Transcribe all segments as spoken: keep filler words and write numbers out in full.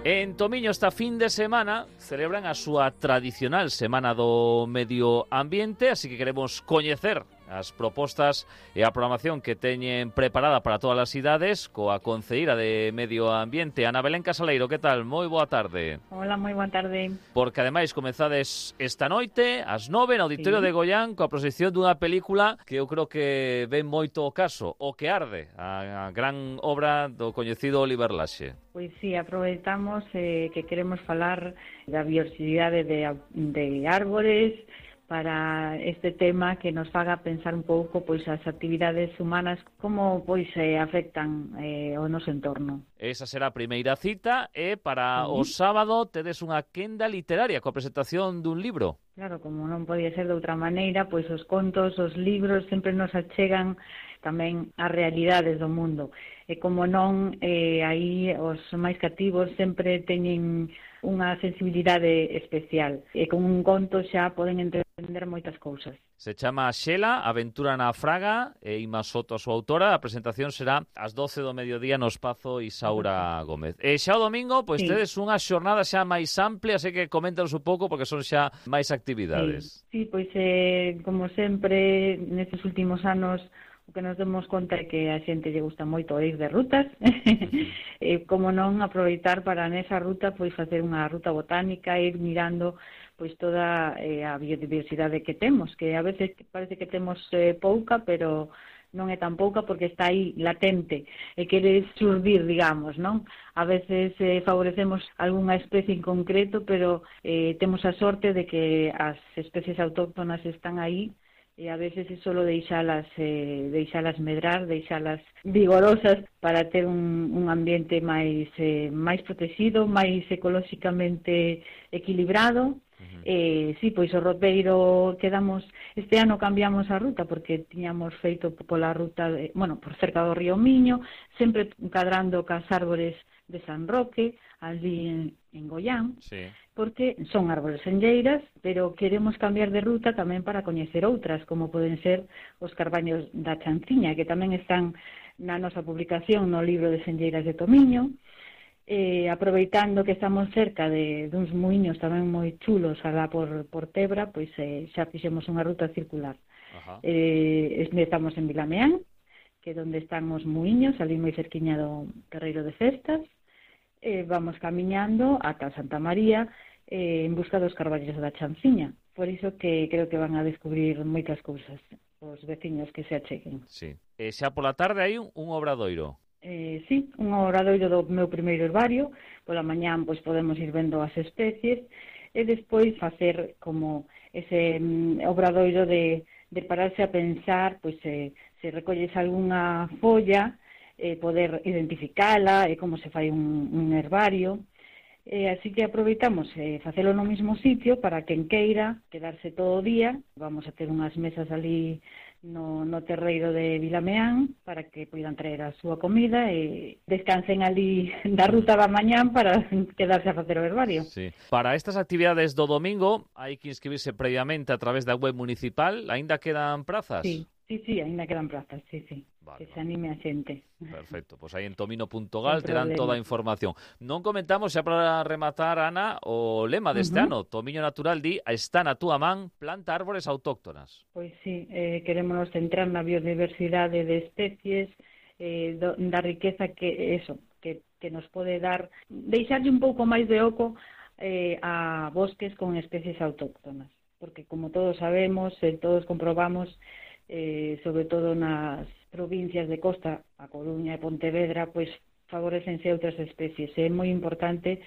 En Tomiño esta fin de semana celebran a súa tradicional Semana do Medio Ambiente, así que queremos coñecer as propostas e a programación que teñen preparada para todas as idades coa concelleira de Medio Ambiente, Ana Belén Casaleiro. Que tal? Moi boa tarde. Hola, moi boa tarde. Porque ademais comezades esta noite ás nove no Auditorio Sí. de Goián coa proxección dunha película que eu creo que ven moito o caso, O que arde, a, a gran obra do coñecido Oliver Laxe. Pois sí, aproveitamos eh, que queremos falar da biodiversidade de, de árbores para este tema que nos faga pensar un pouco pois as actividades humanas como pois eh, afectan eh, o noso entorno. Esa será a primeira cita e para Sí. o sábado tedes unha quenda literaria coa presentación dun libro. Claro, como non podía ser de outra maneira, pois os contos, os libros sempre nos achegan tamén as realidades do mundo. E como non, eh, aí os máis cativos sempre teñen unha sensibilidade especial. E con un conto xa poden entender moitas cousas. Se chama Xela, Aventura na Fraga, e Ima Soto a súa autora. A presentación será ás doce do mediodía no Espazo Isaura Gómez. E xa o domingo, pois Sí. tedes unha xornada xa máis amplia, así que coméntanos un pouco porque son xa máis actividades. Sí, sí, pois eh, como sempre nestes últimos anos o que nos demos conta é que a xente lle gusta moito ir de rutas. E como non aproveitar para nesa ruta pois facer unha ruta botánica, ir mirando pois toda eh, a biodiversidade que temos, que a veces parece que temos eh, pouca, pero non é tan pouca porque está aí latente e quere surdir, digamos, non? A veces eh, favorecemos algunha especie en concreto, pero eh, temos a sorte de que as especies autóctonas están aí e a veces é solo deixalas, eh, deixalas medrar, deixalas vigorosas para ter un, un ambiente máis, eh, máis protegido, máis ecolóxicamente equilibrado. Uh-huh. Eh, sí, pois o roteiro quedamos, este ano cambiamos a ruta porque tiñamos feito pola ruta, de, bueno, por cerca do río Miño, sempre cadrando cas árbores de San Roque, ali en, en Goián, Sí. porque son árbores senlleiras, pero queremos cambiar de ruta tamén para coñecer outras, como poden ser os carbaños da Chanciña, que tamén están na nosa publicación no libro de Senlleiras de Tomiño. Eh, aproveitando que estamos cerca de duns muiños tamén moi chulos alá por, por Tebra, pois eh, xa fixemos unha ruta circular. Ajá. Eh, estamos en Vilameán, que é onde están os muiños, ali moi cerquiña do Terreiro de Festas. Eh, vamos camiñando ata Santa María eh, en busca dos carballos da Chanciña. Por iso que creo que van a descubrir moitas cousas os veciños que se acheguen. Sí. E xa pola tarde hai un, un obradoiro. Eh, sí, un obradoiro do meu primeiro herbario. Pola mañán pois podemos ir vendo as especies e despois facer como ese mm, obradoiro de, de pararse a pensar, pois eh, se recolles algunha folla, eh, poder identificala e como se fai un, un herbario. Eh, así que aproveitamos eh, facelo no mismo sitio para quen queira quedarse todo o día. Vamos a ter unhas mesas ali no, no terreiro de Vilameán para que poidan traer a súa comida e descansen ali da ruta da mañán para quedarse a facer o herbario. Sí. Para estas actividades do domingo hai que inscribirse previamente a través da web municipal. Aínda quedan prazas? Sí, sí, sí, ainda quedan prazas, sí, sí. Vale, que se anime a xente. Perfecto, pois aí en tomino punto gal Sin terán problema. toda a información. Non comentamos, xa para rematar, Ana, o lema deste Uh-huh. ano. Tomiño Natural di, está na túa man, planta árbores autóctonas. Pois sí, eh, queremos centrar na biodiversidade de especies, eh, do, da riqueza que eso, que, que nos pode dar, deixarlle un pouco máis de oco eh, a bosques con especies autóctonas, porque como todos sabemos, eh, todos comprobamos, eh, sobre todo nas provincias de costa, a Coruña e Pontevedra, pois favorecense outras especies. É moi importante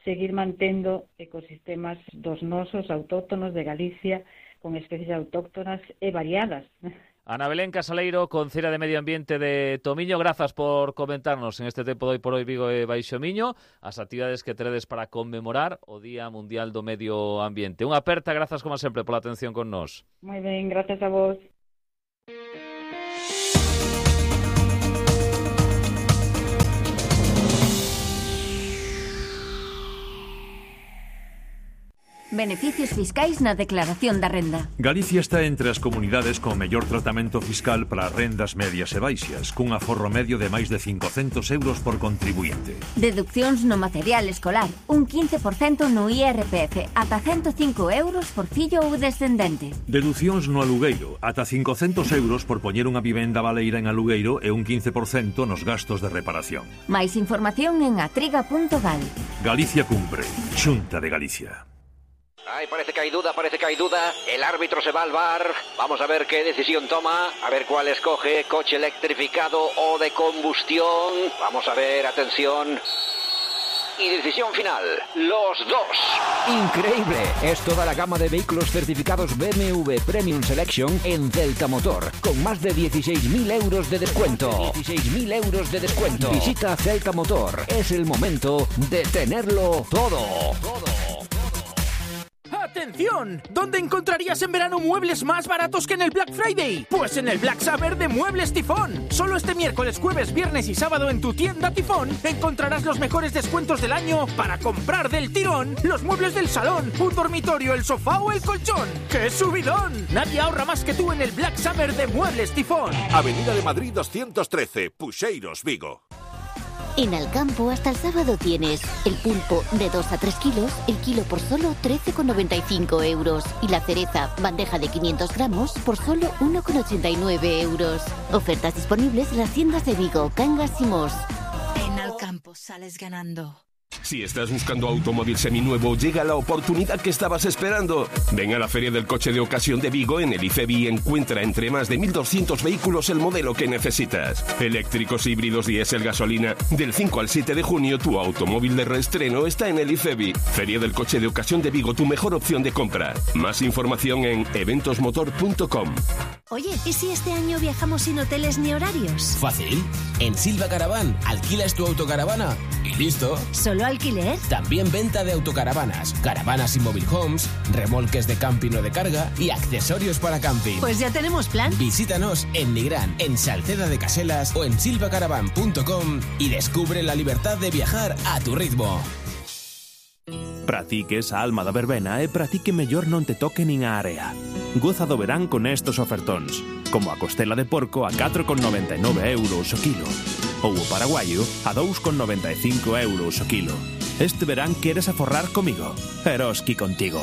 seguir mantendo ecosistemas dos nosos autóctonos de Galicia con especies autóctonas e variadas. Ana Belén Casaleiro, concelleira de Medio Ambiente de Tomiño, grazas por comentarnos en este tempo de Hoy por Hoy Vigo e Baixo Miño as actividades que teredes para conmemorar o Día Mundial do Medio Ambiente. Unha aperta, grazas como sempre pola atención con nós. Moi ben, gracias a vos. Beneficios fiscais na declaración da renda. Galicia está entre as comunidades con mellor tratamento fiscal para rendas medias e baixas, cun aforro medio de máis de cincocentos euros por contribuinte. Deduccións no material escolar, un quince por cento no I R P F, ata ciento cinco euros por fillo ou descendente. Deducións no alugueiro, ata cincocentos euros por poñer unha vivenda baleira en alugueiro e un quince por cento nos gastos de reparación. Máis información en atriga punto gal. Galicia cumpre. Xunta de Galicia. Ay, parece que hay duda, parece que hay duda. El árbitro se va al V A R. Vamos a ver qué decisión toma. A ver cuál escoge. Coche electrificado o de combustión. Vamos a ver, atención. Y decisión final. Los dos. Increíble. Es toda la gama de vehículos certificados B M W Premium Selection en Celta Motor. Con más de dieciséis mil euros de descuento. dieciséis mil euros de descuento. Visita Celta Motor. Es el momento de tenerlo todo. Todo. ¡Atención! ¿Dónde encontrarías en verano muebles más baratos que en el Black Friday? Pues en el Black Summer de Muebles Tifón. Solo este miércoles, jueves, viernes y sábado en tu tienda Tifón encontrarás los mejores descuentos del año para comprar del tirón los muebles del salón, un dormitorio, el sofá o el colchón. ¡Qué subidón! Nadie ahorra más que tú en el Black Summer de Muebles Tifón. Avenida de Madrid doscientos trece, Puxeiros, Vigo. En Alcampo hasta el sábado tienes el pulpo de dos a tres kilos, el kilo por solo trece con noventa y cinco euros. Y la cereza, bandeja de quinientos gramos, por solo uno con ochenta y nueve euros. Ofertas disponibles en las tiendas de Vigo, Cangas y Mos. En Alcampo sales ganando. Si estás buscando automóvil seminuevo, llega la oportunidad que estabas esperando. Ven a la Feria del Coche de Ocasión de Vigo en el IFEBI y encuentra entre más de mil doscientos vehículos el modelo que necesitas. Eléctricos, híbridos, diésel, gasolina. Del cinco al siete de junio, tu automóvil de reestreno está en el IFEBI. Feria del Coche de Ocasión de Vigo, tu mejor opción de compra. Más información en eventos motor punto com. Oye, ¿y si este año viajamos sin hoteles ni horarios? Fácil. En Silva Caravan alquilas tu autocaravana y listo. ¿Solo alquiler? También venta de autocaravanas, caravanas y mobile homes, remolques de camping o de carga y accesorios para camping. Pues ya tenemos plan. Visítanos en Nigrán, en Salceda de Caselas o en silva caravan punto com y descubre la libertad de viajar a tu ritmo. Para ti que es a alma da verbena e para ti que mellor non te toque nin a area. Goza do verán con estos ofertóns, como a costela de porco a catro con noventa e nove euros o kilo, ou o paraguayo a dous con noventa e cinco euros o kilo. Este verán queres aforrar comigo, Eroski contigo.